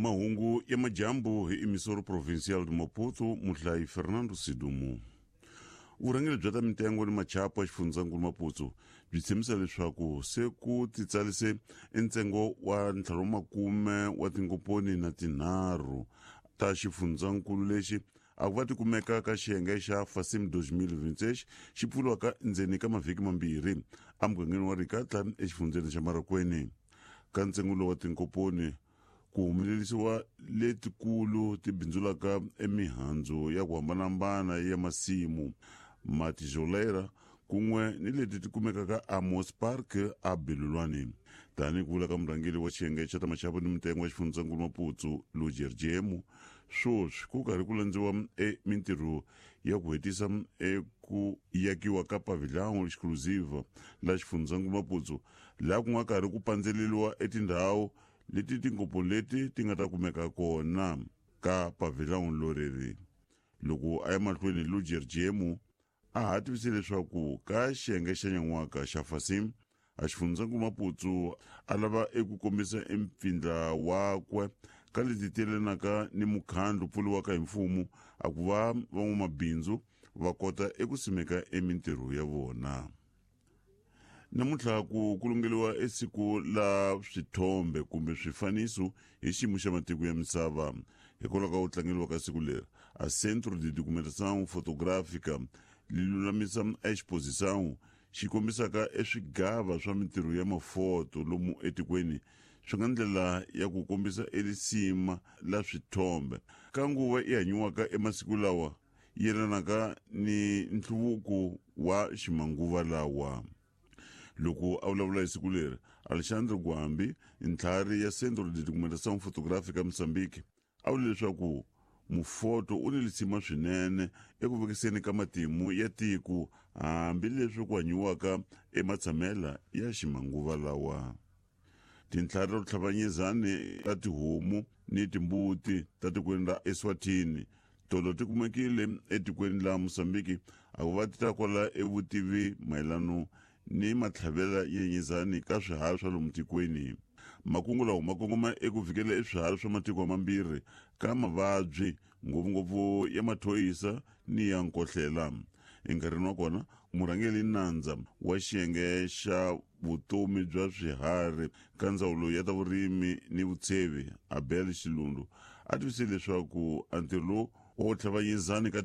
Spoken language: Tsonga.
Mahungu ya majambu hi Emissora Provincial de Maputo, muhlayi Fernando Sidumo. Vurhangeri bya ta mitengo ni machapo ya xifundzankulu Maputo byi tshembisa leswaku se ku titsarise ntsengo wa ntlhanu makume wa tinkomponi na tinharhu ta xifundzankulu lexi a ku va ti kumeka ka xiyenge xa Fasim 2026 xi pfuriwaka ndzeni ka mavhiki mambirhi emugangeni wa Rikatla exifundzeni xa Marakweni. Ka ntsengo lowu wa tinkomponi ku humelerisiwa letikulu ti bindzulaka emihandzu ya ku hambanahambana ya masimu matijolera kun'we ni leti ti kumekaka Amos Park a Belulwani. Tanihi ku vula ka murhangeri wa xiyenge xa ta maxavo ni mitengo ya xifundzankulu Maputo Lujer Jemu, sweswi ku karhi ku landziwa e mintirho ya ku hetisa eku yakiwa ka pavilhão exclusive la xifundzankulu Maputo, laha ku nga karhi ku pandzeleliwa etindhawu leti tinkomponi leti ti nga ta kumeka kona ka pavilhão loreri. Loko a ya mahlweni, Lujer Jemu a ha tivise leswaku ka xiyenge xa nyan'waka xa Fasim a xifundzankulu Maputo a lava eku kombisa empfindla wakwe ka leti telanaka ni mukhandlu pfuriwaka hi mfumo a ku va van'wamabindzu va kota eku simeka emintirho ya vona. Namuntlha ku kulungeliwa esiku la swithombe kumbe swifaniso hi xiyimo xa matiko ya misava. Hikwalaho ka ku tlangeriwa ka siku leri, a Centro de Documentação Fotográfica li lulamisa exposição xi kombisaka eswigava swa mintirho ya mafoto lomu etikweni, swi nga ndlela ya ku kombisa elisima la swithombe ka nguva i hanyiwaka emasiku lawa yelanaka ni nhluvuko wa ximanguva lawa. Loko a vulavula hi siku leri, Alexandre Gwambi, ntlhari ya Centro de Documentação Fotográfica Moçambique, a vule leswaku mufoto u ni lisima swinene eku vekiseni ka matimu ya tiko hambileswi ku hanyiwaka ematshamela ya ximanguva lawa. Tintlhari ta ku tlhavanyezani ta tihomu ni timbuti ta tikweni ra Eswatini tolo ti kumekile etikweni la Mozambique a ku va ti ta kwala evutivi mayelano ni matlhavela ya nyizani ka swiharhi swa lomu tikweni. Makungu lawa ma kongoma eku vikela eswiharhi swa matiko mambirhi ka mavabyi, ngopfungopfu ya mathoyisa ni ya nkohlela. Enkarhini wa kona, murhangeri nandza wa xiyenge xa vutomi bya swiharhi ka ndzawulo ya ta vurimi ni vutshevi, Abel Xilundu, a tivise leswaku a ntirho lowu wa ku tlhavanyizani ka